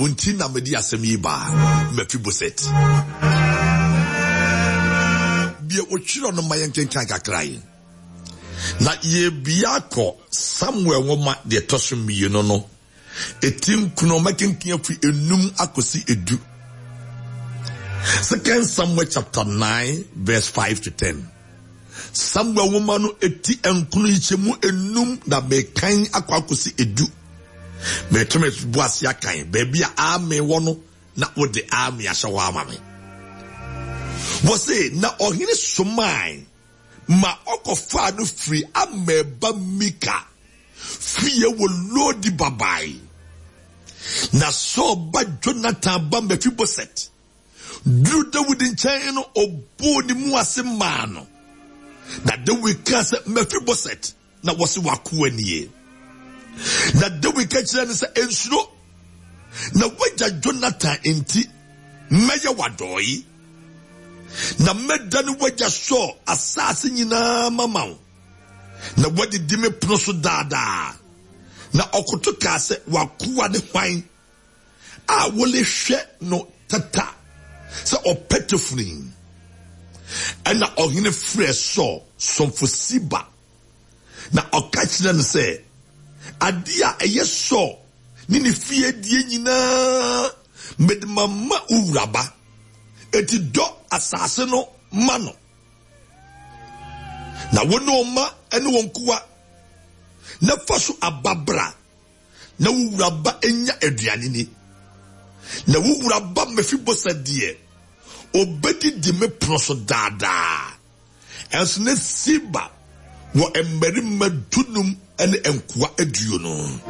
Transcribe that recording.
Wo nti na mede asɛm yi baa, Mefiboset. Bue wo twerɛ no ma yɛnkenkan kakra yi. Na yɛrebia akɔ Samuel nwoma deɛ ɛtɔ so mmienu no, ɛti nkono mɛkenkan afiri enum akɔsi edu. Second Samuel chapter 9 verse 5 to 10. Samuel nwoma no eti nkono yikyɛmu enum na mekan akɔ akɔsi edu. Meto me bo ase akan baabi a amen wɔ no na wode amen ahyɛ hɔ ama me. Wɔse na ɔhene somae ma ɔkɔfaa no firi Amel ba Mika fie wɔ Lodi babae. Na Saul ba Jonathan ba Mefiboset Duruu Dawid nkyɛn no, ɔbɔɔ ne mu ase maa no. Na Dawid kaa sɛ, Mefiboset, na wɔse w'akoa nie. Na Dawid ka kyerɛɛ no sɛ, Nsuro, na w'agya Jonathan nti mɛyɛ w'adɔe, na mɛdane w'agya Saul asase nyinaa mama wo, na woadidi me pono so daa daa. Na ɔkoto kaa sɛ, W'akoa ne hwan? a worehwɛ no tata sɛ ɔpɛtɛ funu yi. Ɛnna ɔhene frɛɛ Saul somfo Siba, na ɔka kyerɛɛ no sɛ, Adeɛ a ɛyɛ Saul ne ne fie deɛ nyinaa, mede mama wo wura ba. Enti dɔ asase no ma no, na wo ne wo mma ne wo nkoa, na fa so aba bra. na wo wura ba nya aduane ni. Na wo wura ba Mefiboset deɛ, ɔbɛdidi me pono so daa daa. Ɛnso na Siba wɔ mmarima dunum ne nkoa aduonu.